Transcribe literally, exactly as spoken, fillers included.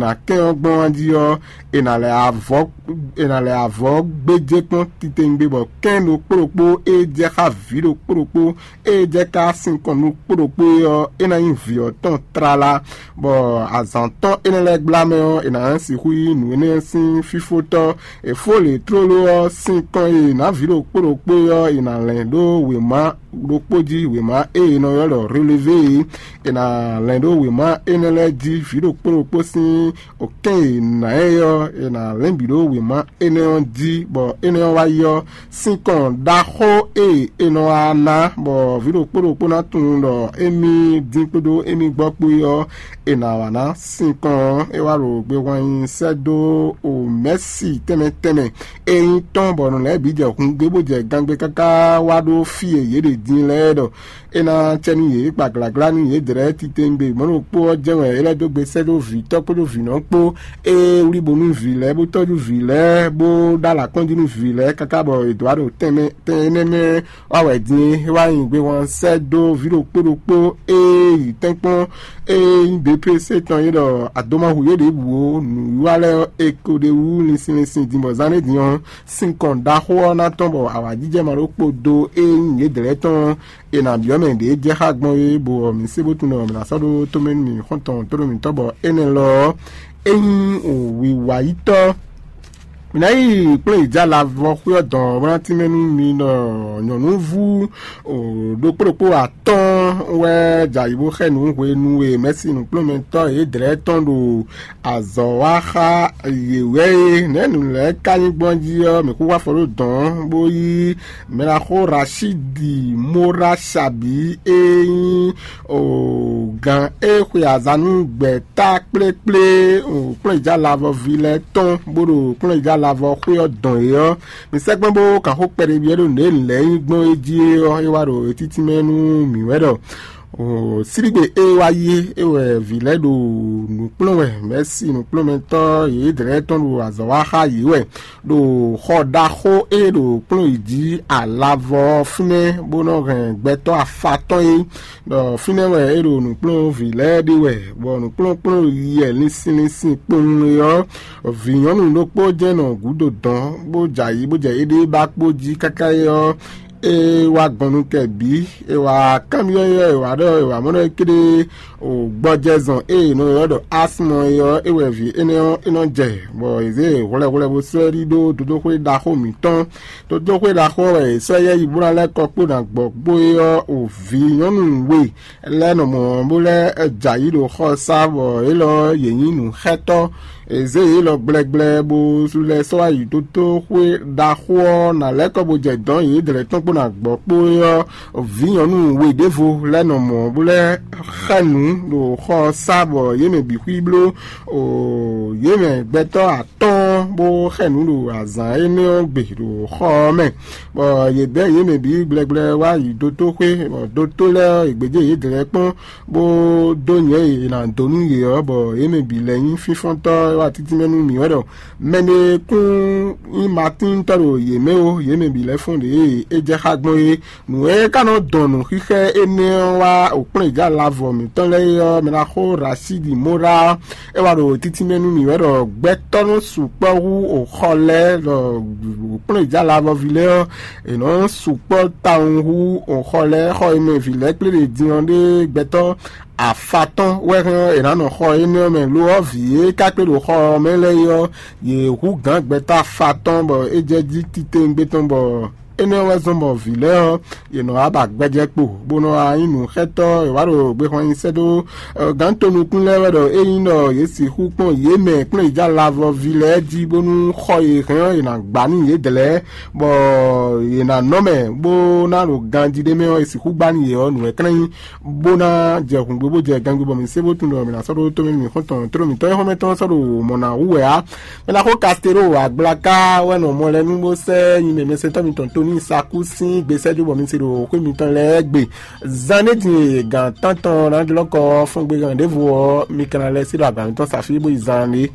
Nǎ kɛn ɔ́ gbɔn jí ɔ́, è nǎ lɛ avɔ è nǎ lɛ avɔ gbéjé kpɔ́n titewungbe, bɔ kɛ́n ɖokpó ɖokpó e jɛ xá vǐ ɖokpó ɖokpó e jɛ ká sinkɔn ɖokpó ɖokpó é ɔ́, é ná nyí vǐ ɔ́ tɔn tlala, bɔ azǎn tɔn énɛ́ lɛ́ɛ gbla mɛ ɔ́, è nǎ sixú yí nǔ énɛ́ sín fífótɔ́. È fó lě tlóló ɔ́ sín kɔn e è nǎ vǐ ɖokpó ɖokpó é ɔ́, è nǎ lɛn ɖó wěma ɖokpó jí, wěma e è nɔ ylɔ́ ɖɔ relevé é. È nǎ lɛn ɖó wěma énɛ́ lɛ́ɛ jí vǐ ɖokpó ɖokpó sín okɛ́n e è nǎ ɛ ɔ́, è nǎ lɛ́n bǐ ɖó wěma énɛ́ ɔ́ jí, bɔ énɛ́ ɔ́ wá yi ɔ́, sinkɔn ɖaxó e è nɔ wá ná, bɔ vǐ ɖokpó ɖokpó ná tunwun ɖɔ émí dín kpódó émí gbɔ kpó é ɔ́, è nǎ wá ná sinkɔn ɔ́, é wá ɖo gbehwan nyi sɛ́ dó o mɛ̌si tɛnmɛ tɛnmɛ e nyí tɔn, bɔ nǔ lɛ́ɛ bǐ jɛ hun gbé bó jɛ gangbé káká wá ɖó fí e yě ɖe din lɛ́ɛ ɖɔ é ná cɛ nú yě, gbagláglá nú yědɛɛ titewungbe. Mɔ̌ ɖokpó ɔ́ jɛ́n wɛ é lɛ́ dó gbe sɛ́ dó vǐtɔ́ kpódó vǐnɔ kpó, ée wlí bo nú vǐ lɛ́ɛ, bó tɔ́jú vǐ lɛ́ɛ, bó ɖó alǎ kɔn jí nú vǐ lɛ́ɛ káká bɔ è dǒ wá ɖo tɛnmɛ tɛn énɛ́ mɛ wá wɛ din é. É wá nyi gbehwan sɛ́ dó vǐ ɖokpó ɖokpó e yi tɛ́nkpɔ́n e nyí B P C tɔn é ɖɔ adomahu yě ɖěbǔ ó, nǔwiwa lɛ́ɛ ɔ́, è ko ɖ'é wú linsin linsin din bɔ zán ɖé din ɔ́, sinkɔn ɖaxó ɔ́ ná tɔ́n bɔ awǎjijɛ ma ɖó kpo dó e nyí yědɛɛ tɔn ɔ́, è nǎ byɔ́ mɛ ɖě jɛ xá gbɔn é, bɔ mǐ se bó tunwun ɖɔ mǐ ná sɔ́ ɖó tomɛ nú mǐ xɔ́ntɔn tóɖó mǐtɔn bɔ énɛ́ lɔ ɔ́, é nyí wǐwayítɔ́. Mǐ ná yi kplɔ́n yi jɛ alavɔ xwé ɔ́ dɔn bó ná tínmɛ nú mi ɖɔ nyɔ̌núvú ɖokpó ɖokpó atɔ́ɔ́n wɛ jɛ ayǐ bó xɛ nǔ hwenu e mɛ̌si nǔkplɔ́nmɛtɔ́ yědɛɛ tɔn ɖo azɔ̌ wa xá yě wɛ é. Nɛ̌ nǔ lɛ́ɛ ka nyí gbɔn jí ɔ́, mǐ kú wá afɔ ɖó dɔ̌n bó yí mɛɖaxó Rashidi Mora Shabi e nyí gǎn e xwe azǎn nú gbɛ̌ta kplékplé kplɔ́njija lavɔví lɛ́ɛ tɔn bó ɖo kplɔ́njija lavɔ xwé ɔ́ dɔn é ɔ́, mi sɛ́gbɛ́n bó kan xó kpɛɖé byɔ́ ɖó nǔ e nǔ lɛ́ɛ nyí gbɔn é jí é ɔ́, é wá ɖo títí mɛ nú mǐ wɛ ɖɔ síɖígbe e wá yi é wɛ vǐ lɛ́ɛ ɖo nǔ kplɔ́n wɛ, mɛ̌si nǔkplɔ́nmɛtɔ́ yědɛɛ tɔn ɖo azɔ̌ wa xá yě wɛ ɖo xɔ ɖaxó e ɖo kplɔ́n yě jí alavɔ ɔ́ fínɛ́, bó nɔ́ hɛn gbɛtɔ́ afa tɔn é, ɖɔ fínɛ́ wɛ é ɖo nǔkplɔ́nvǐ lɛ́ɛ ɖe wɛ, bɔ nǔkplɔ́nkplɔ́n yɛ linsin linsin kpowun é ɔ́, vǐ nyɔ̌nu ɖokpó jɛ́n nɔ gǔdo dɔ̌n, bó jɛ ayǐ bó jɛ éɖée ba kpó jí káká é ɔ́, é wá gɔn nú kɛ bǐ. É wá kanbyɔ́ yɛ é wá ɖɔ é wá mɔ ɖɔ é kéɖée o gbɔjɛzɔn e è nɔ ylɔ́ ɖɔ asmɔ é ɔ́, é wɛ vǐ énɛ́ ɔ́ é nɔ jɛ, bɔ è zě hwlɛhwlɛ bó sɔ́ ɛ ɖidó dodóxwé ɖaxó mǐtɔn. Dodóxwé ɖaxó ɔ́ wɛ è sɔ́ yɛ yi bó ná lɛ́ kɔ kpó ná gbɔ kpó é ɔ́, o vǐ nyɔ̌nu we lɛ́ɛ nɔ mɔ̌ bó lɛ́ jɛ ayǐ ɖo xɔ sá, bɔ élɔ́ yě nyí nǔxɛtɔ́. È zě yě lɔ gblɛgblɛ bó lɛ́ sɔ́ wá yi dótóxwé ɖaxó ɔ́ ná lɛ́ kɔ bó jɛ dɔ̌n yědɛɛ tɔn kpó ná gbɔ kpó é ɔ́, vǐ nyɔ̌nu we ɖěvo lɛ́ɛ nɔ mɔ̌ bó lɛ́ xɛ nǔ ɖo xɔ ɔ́ sá, bɔ yě mɛ bǐ xwí bló o yě mɛ gbɛtɔ́ atɔ́ɔ́n bó xɛ nǔ ɖo azǎn énɛ́ ɔ́ gbe ɖo xɔ ɔ́ mɛ, bɔ yě bɛ́ yě mɛ bǐ gblɛgblɛ wá yi dótóxwé, bɔ dótó lɛ́ɛ ɔ́, è gbějé yědɛɛ kpɔ́n bó dó nyɛ̌ e è nǎ dó nú yě ɔ́, bɔ yě mɛ bǐ lɛ́ nyí fínfɔ́ntɔ́ e wá títí mɛ nú mǐ wɛ ɖɔ mɛɖé kún nyí matíntɔ́ ɖo yě mɛ ó, yě mɛ bǐ lɛ́ fɔ́n ɖě e é jɛ xá gbɔn é. Nǔ e ka nɔ dɔn nǔxixɛ énɛ́ ɔ́ wá òkplɔ́njǎ lavɔ mǐtɔn lɛ́ɛ é ɔ́, mɛ ná xó Rasídi Mora ɔ́, é wá ɖo títí mɛ nú mǐ wɛ ɖɔ gbɛtɔ́ nɔ sukpɔ́ hú òxɔ lɛ́ɛ ɖɔ òkplɔ́njǎ lavɔví lɛ́ɛ ɔ́, è nɔ sukpɔ́ tawun hú òxɔ lɛ́ɛ. Xɔ e mɛ vǐ lɛ́ɛ kplé ɖe din ɔ́ ɖé gbɛtɔ́ afatɔ́n wɛ hɛn ɔ́, è nǎ nɔ xɔ énɛ́ ɔ́ mɛ. Lo ɔ́, vǐ e ka kplé ɖo xɔ ɔ́ mɛ lɛ́ɛ é ɔ́, yě hú gǎn gbɛtɔ́ afatɔ́n bɔ é jɛ jí titewungbe tɔn, bɔ énɛ́ ɔ́ wɛ zɔ́n bɔ vǐ lɛ́ɛ ɔ́, yě nɔ wá ba gbɛjɛ kpo, bó nɔ wá nyí nǔxɛtɔ́. È wá ɖo gbexwan nyi sɛ́ dó gǎn tonukún lɛ́ɛ wɛ ɖɔ ényí ɖɔ yě sixú kpɔ́n yě mɛ kplɔ́nyijá lavɔví lɛ́ɛ jí, bónú xɔ e hɛn ɔ́, è nǎ gbá nú yědɛɛ, bɔ yě ná nɔ mɛ, bó ná ɖo ganjí ɖé mɛ ɔ́, è sixú gbá nú yě ɔ́, nǔ wɛ klɛ́n nyí, bó ná jɛ hǔngbé bó jɛ gangbé, bɔ mǐ sé bó tunwun ɖɔ mǐ ná sɔ́ ɖó tómɛ nú mǐ xɔ́ntɔn, tló mǐtɔn e xɔ́mɛ tɔn sɔ́ ɖo mɔ̌ ná wú wɛ ǎ. Mɛ ná xó Kastero agblaka wɛ nɔ mɔ lɛ́ɛ nú bó sɛ́ nyi mɛ mɛsɛntɔ́ mitɔn Toni Saku sín gbesɛ́jú bɔ mi se ɖo xwé mitɔn lɛ́ɛ gbe. Zan ɖé din e gǎn tántɔn ná jlɔ́ kɔ ɔ́ fɔ́n gbe gán ɖěvo ɔ́, mi ka ná lɛ́ sí ɖo agǎn mitɔn sa fí bó yi zan ɖé.